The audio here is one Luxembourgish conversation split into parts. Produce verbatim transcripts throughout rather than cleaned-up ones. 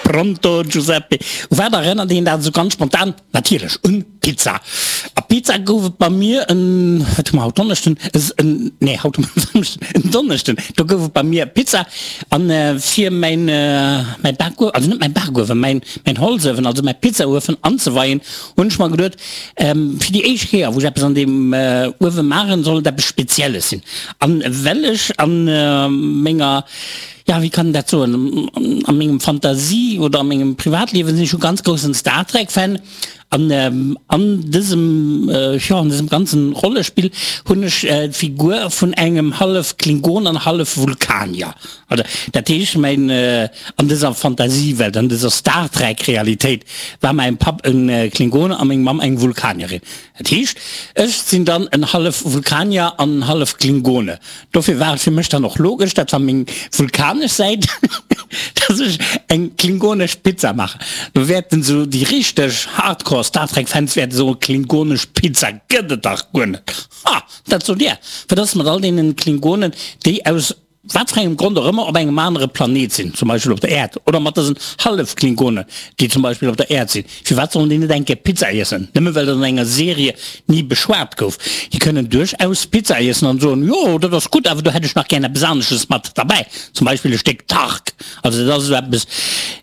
Pronto Giuseppe? U wat erënnert een dat esou ganz spontan? Natierlech un Pizza. A Pizza gouf et bei mir en, wat hu mer haut, Donneschden? En, nee, haut hu mer Samschden, en Donneschden, do gouf et bei mir Pizza. An fir mäin, mäi Bakuewen, also net mäi Bakuewen, mäin, mäin Holzuewen, also mäi Pizzauefen anzeweien, hunn ech mer geduet, fir déi éischt Kéier, wou ech eppes an deem Uewe maachen, soll et eppes Spezielles sinn. An well ech an menger, ja, wéi kann een dat soen, a mengem Fantasie oder a mengem Privatliewen sinn ech e ganz groussen Star Trek Fan an an dësem, jo, an dësem ganzen Rollespill hunn ech d'Figur vun engem hallef Klingon an hallef Vulkanier. Also dat heescht, mäin, an dëser Fantasiewelt, an dëser Star Trek Realitéit war mäin Papp e Klingone a meng Mamm eng Vulkanierin. Dat heescht, ech sinn dann en hallef Vulkanier an en hallef Klingone. Dofir war et fir mech dann och logesch, dat war meng vulkanesch Säit, dass ech eng klingonesch Pizza maachen. Do wäerten esou déi richteg Hardcore Star Trek Fans wäerte soen, Klingonesch Pizza gëtt et dach guer net. Ha, dat sot Dir. Wat ass mat all deenen Klingonen, déi aus wat fir engem Grond och ëmmer op engem anere Planet sinn, zum Beispill op der Äerd, oder mat dësen Hallef-Klingonen, déi zum Beispill op der Äerd sinn, firwat sollen déi net eng Kéier Pizza iessen, nëmme well dat an enger Serie ni beschwat gouf? Déi kënnen duerchaus Pizza iessen an soen, jo, dat ass gutt, awer do hätt ech nach gär eppes anesches mat derbäi, zum Beispill e Stéck Tark. Also dat ass esou eppes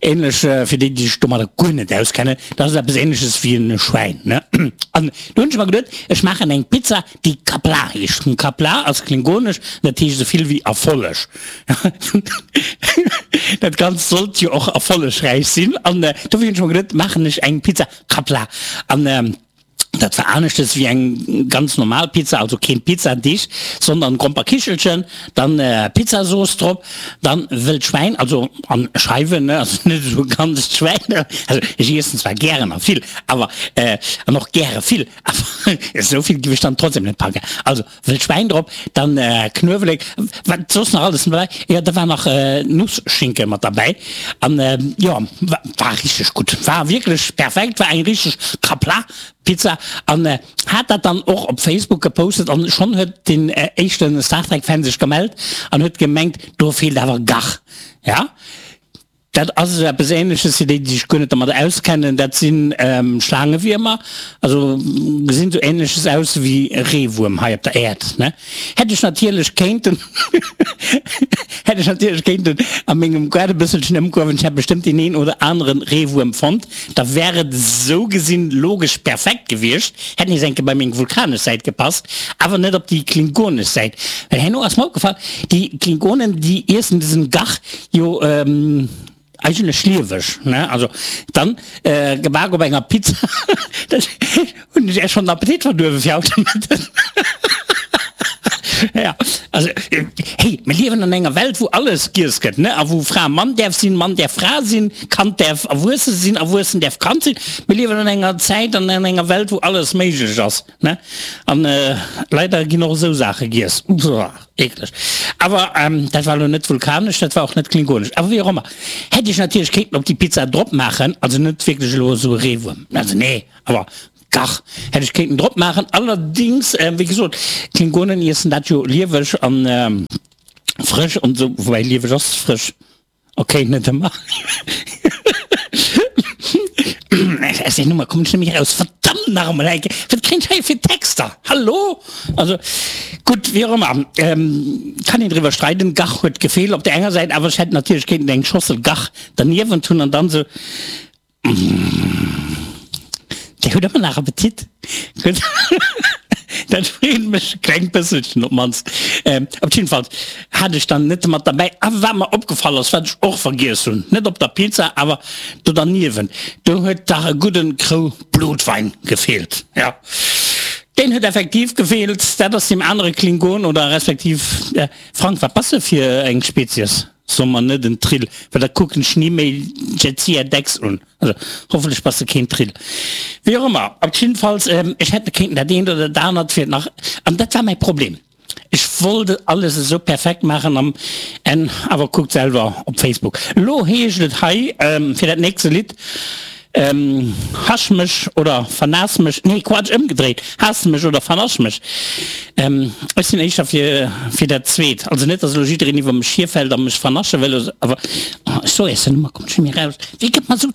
ähnlech, fir déi, déi sech domadder guer net auskennen, dat ass eppes ähnleches wéi e Schwäin, ne? An do hunn ech mer geduet, ech maachen eng Pizza, déi Qapla' heescht. Qapla' ass klingonesch, dat heescht esou vill wéi Erfolleg. Dat Ganzt sollt jo och erfollegräich sinn an dofir hunn ech mer geduet, maachen ech eng Pizza Qapla'. An dat war aneschtes wéi eng ganz normal Pizza, also keen Pizzadeeg, sondern Gromperkichelchen, dann Pizzasauce drop, dann wëllt Schwäin, also an Scheiwen, ne, also net esou e ganzt Schwäin, also ech iessen zwar gären a vill, awer an och gäre vill, awer esou vill giff ech dann trotzdem net packen. Also wëllt Schwäin drop, dann Knuewelek, wat soss nach alles mat derbäi, jo da war nach Nussschinken mat derbäi an jo war richteg gutt, war wierklech perfekt, war eng richteg Kapla Pizza an hat dat dann och op Facebook gepostet an schonn huet den éischten Star Trek Fan sech gemellt an huet gemengt do feelt awer Gach. Ja dat ass esou eppes ähnleches fir déi déi sech guer net domat auskennen, dat sinn Schlaangewiermer, also gesinn esou ähnleches aus wéi Reewuerm hei op der Äerd ne. Hätt ech natierlech kéinten hätt ech natierlech kéinten a mengem Gaart e bësselchen ëmkueren, ech hätt bestëmmt deen een oder aneren Reewuerm fonnt. Da wär et esou gesinn logesch perfekt gewiescht, hätt nees eng Kéier bei meng vulkanesch Säit gepasst, awer net op déi klingonesch Säit. Well herno ass mer opgefall, déi Klingonen, déi iessen dësen Gach jo eigentlech lieweg, ne? Also dann gebak op enger Pizza, dat hunn ech Äech schonn den Appetit verduerwe fir haut de Mëtten. Ja, also, hey, mir liewen an enger Welt, wou alles giess gëtt, ne? A wou Fra Mann däerf sinn, Mann däerf Fra sinn, Kand däerf erwuesse sinn, Erwuessen däerf Kand sinn. Mir liewen an enger Zäit an an enger Welt, wou alles méiglech ass, ne? An leider ginn och esou Saache giess. Uah, eekleg. Awer dat war elo net vulkanesch, dat war och net klingonesch. Awer wéi och ëmmer, hätt ech natierlech kéinten op déi Pizza drop maachen, also net wierklech elo esou e Reewuerm, also nee, awer Dach, hätt ech kéinten drop maachen. Allerdings, wéi gesot, d'Klingonen iessen dat jo lieweg an frësch an esou, woubäi lieweg ass frësch, ok, net ëmmer. Aus där Nummer kommen ech net méi eraus, verdammt nach emol eng Kéier, wat kréien ech hei fir Texter, hallo? Also gutt, wéi och ëmmer, kann een driwwer streiden, Gach huet gefeelt op där enger Säit, awer ech hätt natierlech kéinten eng Schossel Gach derniewent hunn an dann esou. Dir hutt ëmmer nach Appetit? Gutt, dat freet mech e klengt bësselchen op d'mannst. Op jiddefalls hat ech dann net mat derbäi. A wat mer opgefall ass, wat ech och vergiess hunn, net op der Pizza, awer do derniewent, do huet dach e gudden Krou Blutwein gefeelt. Jo, deen huet effektiv gefeelt. Dat ass deem anere Klingon oder respektiv, Frank, wat bass de fir eng Spezies? So mer net en Trill, well da kucken ech ni méi Jadzia Dax un. Also hoffentlech bass de keen Trill. Wéi och ëmmer, op jiddefalls, ech hätt kéinten dat eent oder dat anert fir nach, an dat war mäi Problem, ech wollt et alles esou perfekt maachen am Enn, awer kuckt selwer op Facebook. Elo heescht et hei fir dat nächste Lidd Ähm, Hasch mech oder vernaass mech, nee Quatsch, ëmgedréit, haass mech oder vernasch mech. Ähm, ech sinn éischter fir, fir dat zweet. Also net, dass elo jiddereen iwwer mech hierfält a mech vernasche wëll, awer, oh, ech soe iech den Nummer, kommt scho méi raus. Wéi gëtt man esou